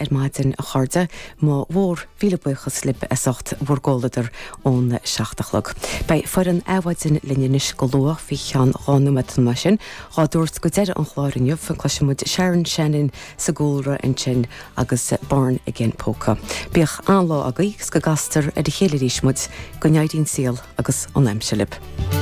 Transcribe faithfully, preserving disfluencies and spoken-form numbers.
ar maidin a chairde mo mhór mhíle buíochas libh as ucht bhur gcomhluadar ón seacht a chlog. Beidh foireann Adhmhaidin linn anois go luath faoi cheann dhá nóiméad mar sin dhá dtabhairt go deireadh an chláir inniu cloisfimid Sharon Shannon sa gcúlra ansin agus Born Again Polka. Bíodh an-lá agaibh agus go gcastar ar a chéile arís muid go n-éirí an saol agus an aimsir libh.